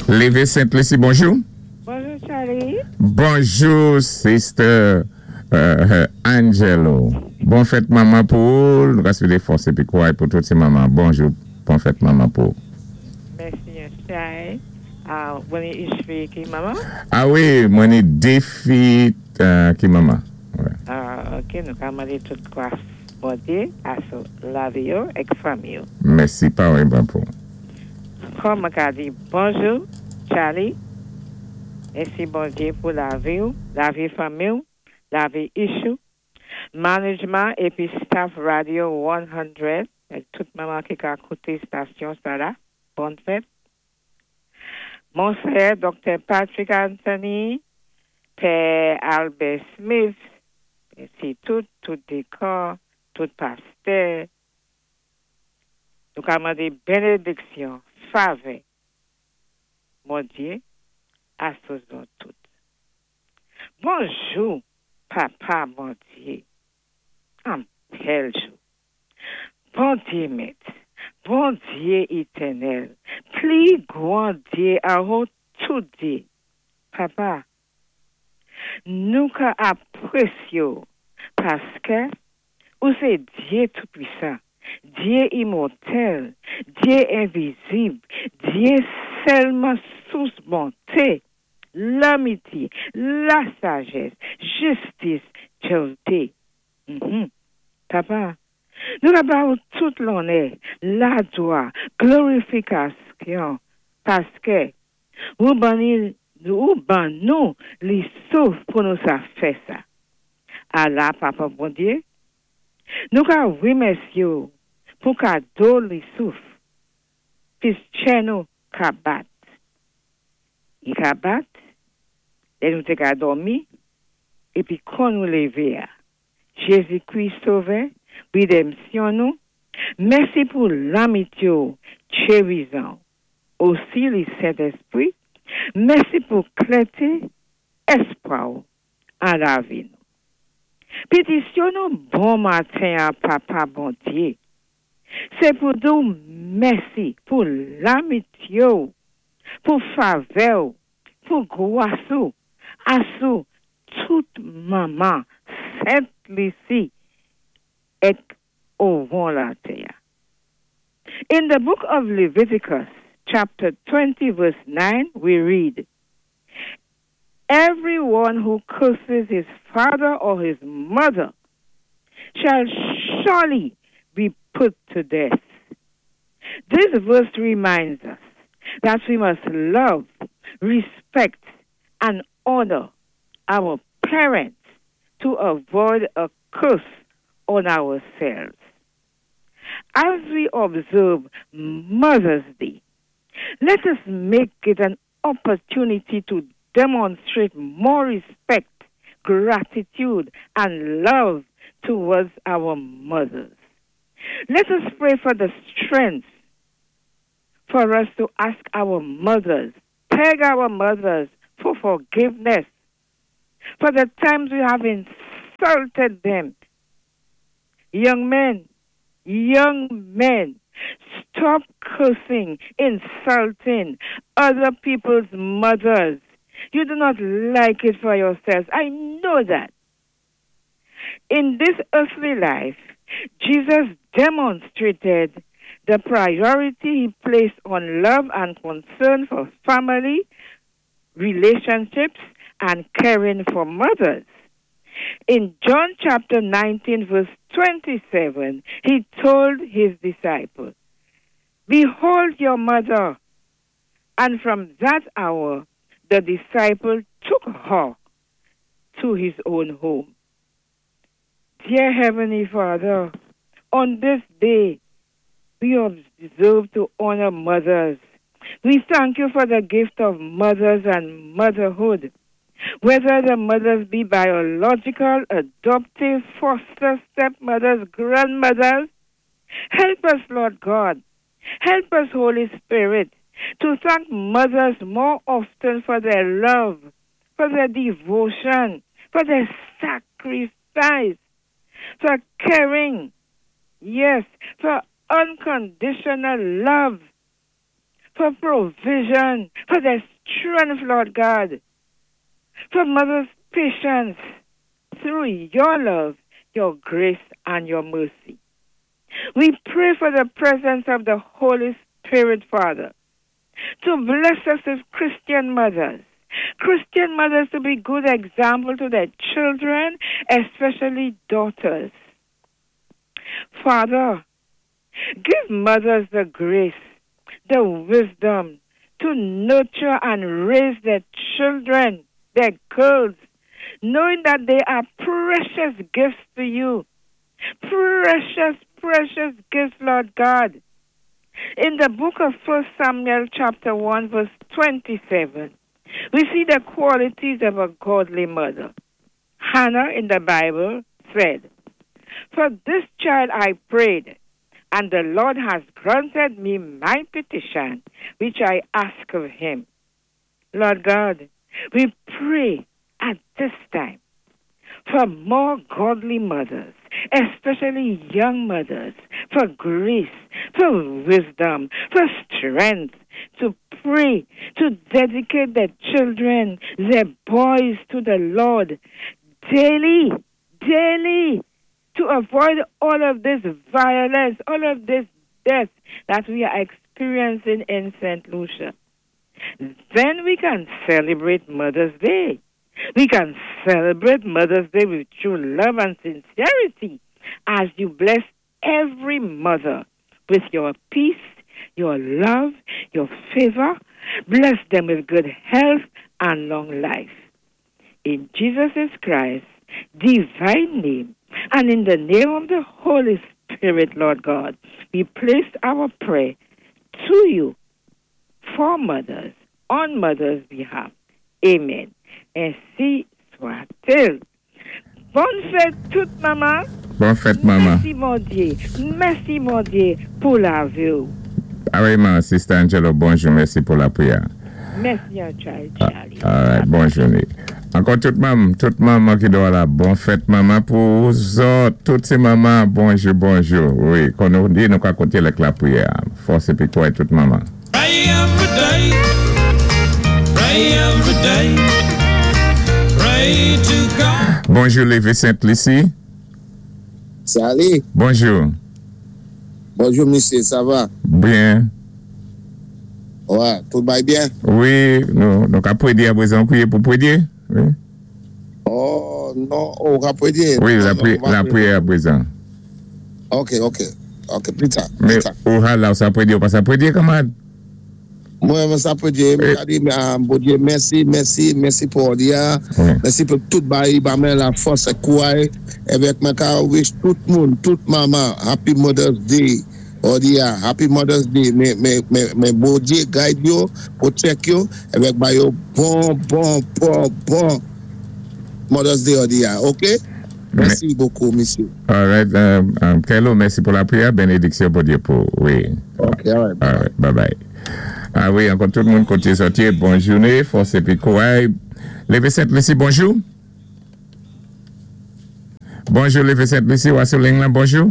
Lévé Sent-Lisi, bonjou. Bonjou, Charlie. Bonjou, Sister Angelo. Bon fèt manman pou ou. Nou ka swété fòs épi kouray pou tout ti manman. Bonjou, bon fèt manman pou ou. Mèsi, Chay. Ah, ou ni ich fi ki manman? Ah wi, mwen ni dé fi ki manman. Wè. Ah, OK, nou ka mandé tout gwas Bondyé asou lavi yo èk fanmi yo. Mèsi, parèyman pou ou. Kòm mwen ka di bonjou, Charlie. Mèsi Bondyé pou lavi ou, lavi fanmi ou, lavi ich ou, management épi staff Radio 100, èk tout manman ki ka kouté stasyon sa la. Bòn fèt. Monseyè Dr. Patrick Anthony, Pè Albert Smith, mèsi tout, tout dikon, tout pastè. Nou ka mandé bénédiksyon, favè, Bondyé, asou nou tout. Bonjou, Papa Bondyé. An bèl jou. Bondyé Mèt, Bondyé étènèl, pli gwan Dyé anwo tout dyé. Papa, nou ka apwésyé paské ou sé Dyé Toupisan, Dyé imòtèl, Dyé envizib, Dyé sèlman sous bonté, lanmityé, lasajès, jistis, djèwté. Papa, nou ka ba ou tout lonnè, laglwa, glorifikasyon, paské ou ban ni ou ban nou li souf pou nou sa fè sa. Ala Papa Bondyé, nou ka wimèsyé ou pou kado li souf, pis tchè nou ka bat. I ka bat, lè nou té ka dòmi, épi kon nou lévé a. Jézi-Kris Sovè, wédanmsyon nou, mèsi pou lanmityé ou chérizan, osi li Sentèspwi, mèsi pou klèté èspwa ou an lavi nou. Pétisyon nou bon maten an Papa Bondyé, sé pou di ou mèsi pou lanmityé ou, pou favè ou, pou gwas ou, asou tout manman Sent Lisi èk owon latè. In the book of Leviticus, chapter 20, verse 9, we read, "Everyone who curses his father or his mother shall surely be put to death." This verse reminds us that we must love, respect, and honor our parents to avoid a curse on ourselves. As we observe Mother's Day, let us make it an opportunity to demonstrate more respect, gratitude, and love towards our mothers. Let us pray for the strength for us to ask our mothers, beg our mothers for forgiveness for the times we have insulted them. Young men, stop cursing, insulting other people's mothers. You do not like it for yourselves. I know that. In this earthly life, Jesus demonstrated the priority he placed on love and concern for family, relationships, and caring for mothers. In John chapter 19, verse 27, he told his disciples, "Behold your mother." And from that hour, the disciple took her to his own home. Dear Heavenly Father, on this day, we observe to honor mothers. We thank you for the gift of mothers and motherhood. Whether the mothers be biological, adoptive, foster, stepmothers, grandmothers, help us, Lord God. Help us, Holy Spirit, to thank mothers more often for their love, for their devotion, for their sacrifice, for caring, yes, for unconditional love, for provision, for their strength, Lord God, for mothers' patience through your love, your grace, and your mercy. We pray for the presence of the Holy Spirit, Father, to bless us as Christian mothers. Christian mothers to be good example to their children, especially daughters. Father, give mothers the grace, the wisdom to nurture and raise their children, their girls, knowing that they are precious gifts to you. Precious, precious gifts, Lord God. In the book of 1 Samuel, chapter 1, verse 27, we see the qualities of a godly mother. Hannah in the Bible said, "For this child I prayed, and the Lord has granted me my petition, which I ask of him." Lord God, we pray at this time for more godly mothers, especially young mothers, for grace, for wisdom, for strength to pray, to dedicate their children, their boys to the Lord daily, daily, to avoid all of this violence, all of this death that we are experiencing in St. Lucia. Then we can celebrate Mother's Day. We can celebrate Mother's Day with true love and sincerity as you bless every mother with your peace, your love, your favor. Bless them with good health and long life. In Jesus Christ's divine name and in the name of the Holy Spirit, Lord God, we place our prayer to you for mothers, on mothers' behalf. Amen. Ensi swa-t-il. Bonne fête tout manman. Bonne fête, maman. Mèsi, Bondyé. Mèsi, Bondyé, pou lavi. Pareillement, Sister Angelo, bonjou, mèsi pou lapriyè. Mèsi, Charlie. Charlie. All right, bonne journée. Ankò tout manman ki dwa la, bonne fête, manman, pou zòt, tout sé manman, bonjou, bonjou. Wi, kon nou di nou ka konté avèk lapriyè. Fòs épi kouray tout manman. Pray every day, pray every day, pray to God. Bonjou, Lévé Sainte-Lucie. Salut. Bonjou. Bonjou, misyé, sa va? Byen. Wè, tout va byen? Wi, nou ka pwédyé aprezan, priyé pou pwédyé. Wi. Oh, non, on va prier. Wi, Non, la, non, pri- on va la prier. priyè aprezan. Ok, plus tard, Mais plus tard. ou la, ou sa pwédyé ou pa sa pwédyé, kanmarad? Mwen, mwen sa priye, mwen di, Bondyé, mèsi, mèsi, mèsi pou jòdi-a. Mèsi pou tout bagay, ba mwen lafòs é kouray, avèk mwen ka wish tout moun, tout manman, Happy Mother's Day. Jòdi-a, Happy Mother's Day. Men Bondyé guide yo, protect yo, avèk ba yo bon, bon, bon, bon Mother's Day jòdi-a, ok? Mèsi bokou, misyé. All right, Kello, mèsi pou lapriyè. Benediksyon Bondyé pou, wi. Ok, all right. All right, bye bye. Ah wi, ankò tout moun koté sòti, bonne journée, fòs épi kouray. Lévé Sainte-Lucie, bonjou. Bonjou, Lévé Sainte-Lucie, ou sou liy la, bonjou.